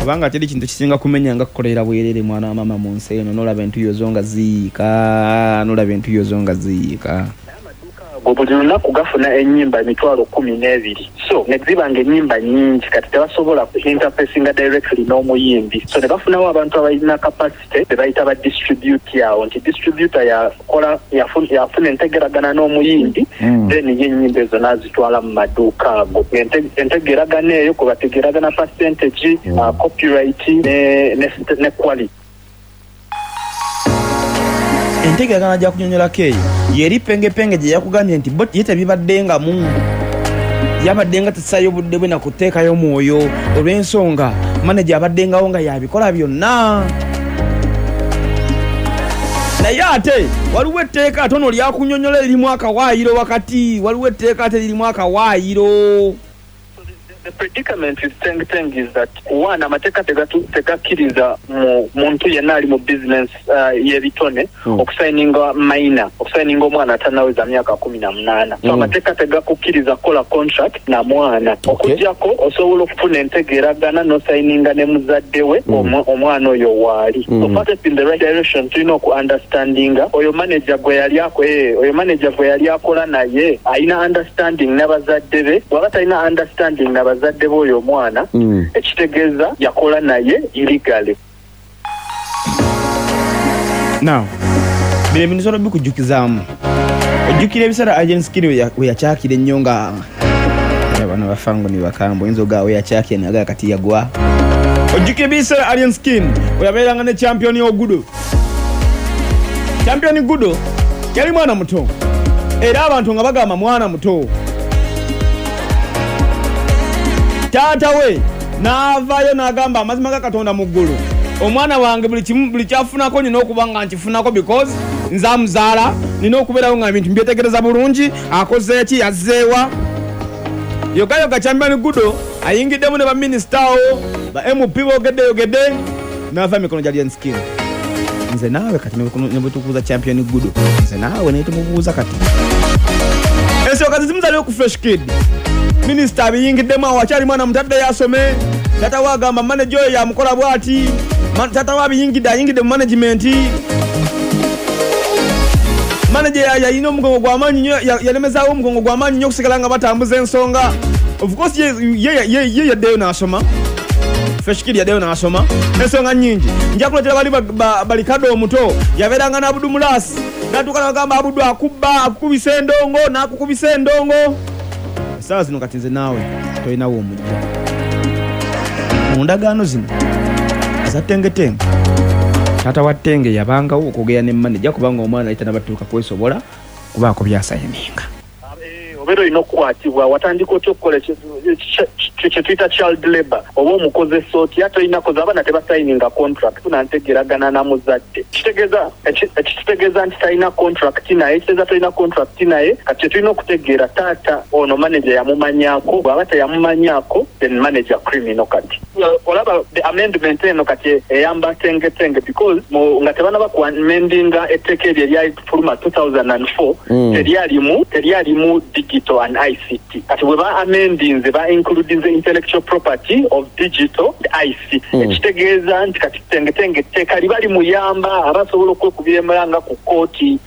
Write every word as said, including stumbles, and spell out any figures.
Kubanga teri kintu kisinga kumenya nga kukolera bwerere mwana wa mama mu nsi eno, n'olaba entuyo zo nga ziyiika, n'olaba entuyo zo nga ziyiika. Ago buli lunaku gafuna ennyimba emitwalo kkumi n'ebiri, so ne ziba ng'ennyimba nnyingi, kati tebasobola interfacinga directly n'omuyimbi, so ne bafunawo abantu abalina capacity be bayita ba distributor awo, nti distributor yakola yafuna entegeragana n'omuyimbi, then ye ennyimba ezo n'azitwala mu maduuka ago. Entegeragana eyo kwe bategeragana percentage, uh, copyright ne, ne, ne quality. Entegeragana gya kunyonyolako eyo yeri pengepenge gye yakugambye nti bo ye tebibaddengamu, yabadde nga tesaayo budde bwe nakuteekayo mwoyo olw'ensonga maneja abaddengawo nga yabikola byonna. Naye ate waliwo etteeka ate ono lyakunyonyola eririmu akawaayiro wakati, waliwo etteeka ate lirimu akawaayiro. The predicament with Teng Teng is that one, amateeka tegakkiriza mu muntu yenna ali mu business uh, y'ebitone mm. okusayininga minor, okusayininga omwana atannaweza myaka kumi na munaana. So mm. amateeka tegakukkiriza kukola contract na mwana. Okuggyako osobola okufuna entegeeragana n'osayininga ne muzadde we mm. omwana oyo waali. Mm. So first in the right direction tulina oku understandinga oyo manager gwe yali ako eh, oyo manager gwe yali akola naye alina understanding n'abazadde be, bw'aba talina understanding n'abazadde bazadde b'oyo omwana, ekitegeeza yakola naye illegally. Now, bino ebintu sono bikujjukizaamu. Ojjukira ebiseera Alien Skin we yakyakira ennyo nga bano bafango ni bakambwe, oyinza ogaba we yakyakira naye kati yagwa. Ojjukira ebiseera Alien Skin we yabeeranga ne Champion Ogudo. Champion Gudo yali mwana muto, era abantu nga bagamba mwana muto. Taata we n'avaayo n'agamba amazima ga Katonda mu ggulu, omwana wange buli kimu buli kyafunako nina okuba nga nkifunako because nze amuzaala, nina okubeerawo nga ebintu mbyetegereza bulungi, akoze ki, yazzeewa. Yoga yoga Champion Gudo ayingiddemu ne baminisita awo, ba M P boogedde yogedde, n'ava emikono gya Alien Skin. Nze naawe kati ne bwe tukubuuza Champion Gudo, nze naawe naye tumubuuza kati. Ensonga zizimu zaliwo ku Fresh Kid. Minisita abiyingiddemu awo akyali mwana mutadde yasome, taata we agamba manager oyo yamukola bw'ati, taata we abiyingidde ayingidde mu management. Manager yalina omugongo gw'amaanyi nnyo, yalemezaawo omugongo gw'amaanyi nnyo okusigala nga batambuza ensonga. Of course ye ye yaddeyo n'asoma, Fresh Kid yaddeyo n'asoma ensonga nnyingi. Nja kuleetera bali balikadde omuto yabeeranga n'Abudu Mulasi, n'atuuka n'agamba Abudu akubba, akukubisa endongo, n'akukubisa endongo. Essaawa zino kati nze naawe tolinawo omujja. Mu ndagaano zino eza Tengetenge, taata wa Tenge yabangawo okwogera ne manager kubanga omwana yali tannabatuuka kwesobola kubaako by'asayininga. Obeera olina okukwatibwa, watandika otya okukola kye tuyita child labor, oba omukozesa otya, tolina koza abaana tebasayininga contract, nantegeragana na muzadde. Kitegeeza ekitegeeza nti talina contract naye, kitegeeza tolina contract naye. Kati kye tulina okutegeera taata ono manager yamumanyaako, bw'aba teyamumanyaako then manager criminal. Kati olaba the amendment eno kati eyamba Tengetenge because nga tebanaba ku amendinga etteeka eryo eryafuluma two thousand and four, teryalimu teryalimu digital and I C T. Kati bwe ba amendinze ba includinze intellectual property of digital I C T, ekitegeeza nti kati Tengetenge etteeka liba limuyamba abasobola okwekubira emulanga ku kkooti